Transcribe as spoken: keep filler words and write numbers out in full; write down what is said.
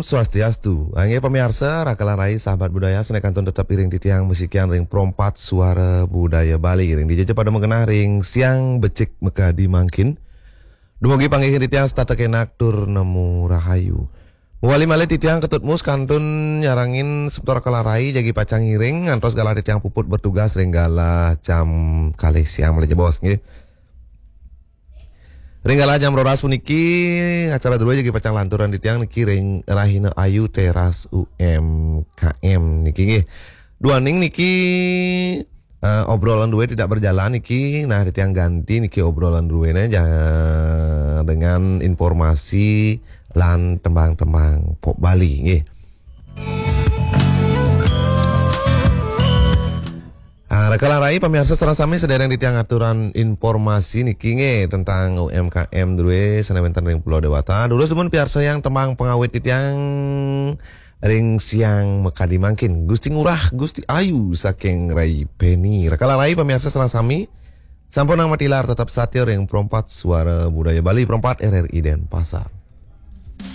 Swastiastu. Inggih pamiarsa, raka lan rai sahabat budaya, sané kantun tetep iring titiang masikian ring Pro empat Suara Budaya Bali. Ring dija pada magenah ring Siang Becik Makadi mangkin. Dumugi panggihin titiang setata kenak tur nemu rahayu. Mawali malih titiang Ketut Mus kantun nyarengin semeton raka lan rai jagi pacang ngiring ngantos galah titiang puput bertugas ring galah jam kalih siang malih jebos nggih. Ring galah jam roras puniki, acara druéné jagi pacang lanturang titiang niki ring Rahina Ayu Teras U M K M niki nggih. Duaning niki eh, obrolan drué tidak berjalan niki, nah titiang ganti niki obrolan druéné ja-, dengan informasi lan tembang-tembang pop Bali nggih. Ah, raka lan rai pamiarsa sareng sami, sadéréng titiang aturan informasi niki nggih tentang U M K M drué sané wénten ring Pulau Dewata. Durus dumun piarsayang tembang pangawit titiang ring Siang Makadi mangkin. Gusti Ngurah, Gusti Ayu saking Rai Beni. Raka lan rai pamiarsa sareng sami, sampunang matilar tetep satia ring Pro empat Suara Budaya Bali, Pro empat R R I Denpasar.